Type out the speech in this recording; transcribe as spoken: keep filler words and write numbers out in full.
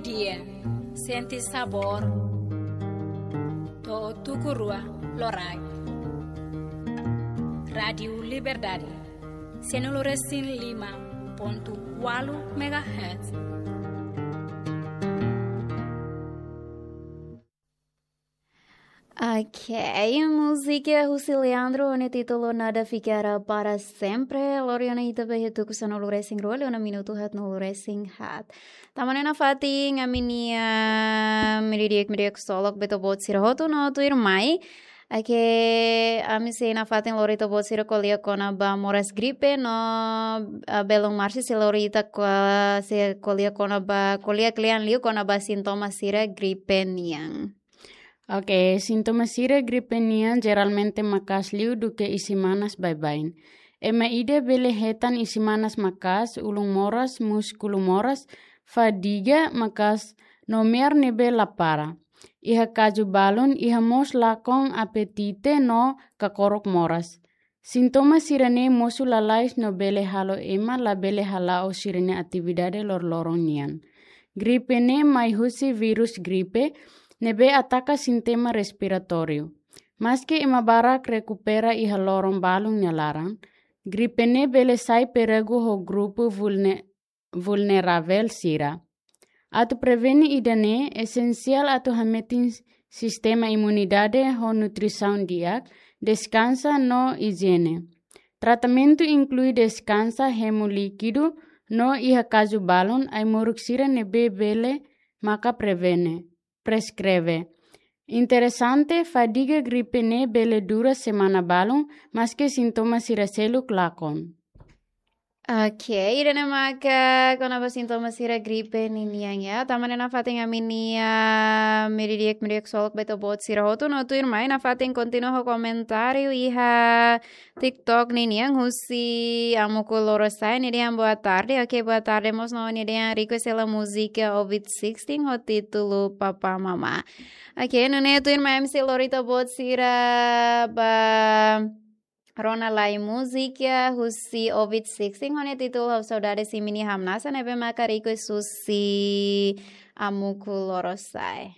Dia, sente sabór. To'o tuku rua loraik. Rádiu Liberdade, sianulu resin lima pontu ualu megahertz. Ok, múzika husi Leandro ho nia títulu Nada Ficará Para Sempre. Lori ona ita ba iha tuku sanulu resin rua, liu ona minutu haatnulu resin haat. Tama ona nafatin ami-nia meiudia, meiudia ksolok ba ita-boot sira hotu no tuirmai. Ok, ami sei nafatin lori ita-boot sira ko'alia kona-ba moras gripe no, ah, belun Marsi sei lori ita ko-, sei ko'alia kona-ba, ko'alia kle'an liu kona-ba sintoma sira gripe nian. Ok, sintoma sira gripe nian jeralmente maka'as liu duké isin-manas baibain. Ema ida bele hetan isin-manas maka'as, ulun moras, múskulu moras, fadiga maka'as, nomear ne'ebé la para. Iha kazu balun, iha mós lakon apetite no kakorok moras. Sintoma sira-ne'e mosu lalais no bele halo ema labele hala'o sira-nia atividade loroloron nian. Gripe ne'e mai husi vírus gripe, ne'ebé ataka sistema respiratóriu. Maski ema barak rekupera iha loron balun nia laran, gripe ne'e bele sai perigu ho grupu vulne-, vulneravel sira. Atu prevene ida-ne'e, esensiál atu hametin sistema imunidade ho nutrisaun di'ak, deskansa no ijiene. Tratamentu inklui deskansa, hemu líkidu, no iha kazu balun ai-moruk sira ne'ebé bele maka prevene, preskreve. Interesante, fadiga gripe ne'e bele dura semana balun, maski sintoma sira seluk lakon. Ok, ida-ne'e maka kona-ba sintoma sira gripe ninian ya. Tama ona nafatin ami-nia meiudia, meiudia ksolok ba ita-boot sira hotu no tuirmai nafatin kontinua ho komentáriu iha TikTok ninian husi Amuku Lorosai, nia dehan boa tarde. Ok, boa tarde mós no nia dehan request hela múzika Ovid sixteen ho títulu Papá Mamá. Ok, nune'e tuirmai ami sei lori ita-boot sira ba rona lai múzika husi Ovid sixteen ho nia títulu Ha'u Saudades Imi-nia Hamnasa ne'ebé maka request husi Amuku Lorosai.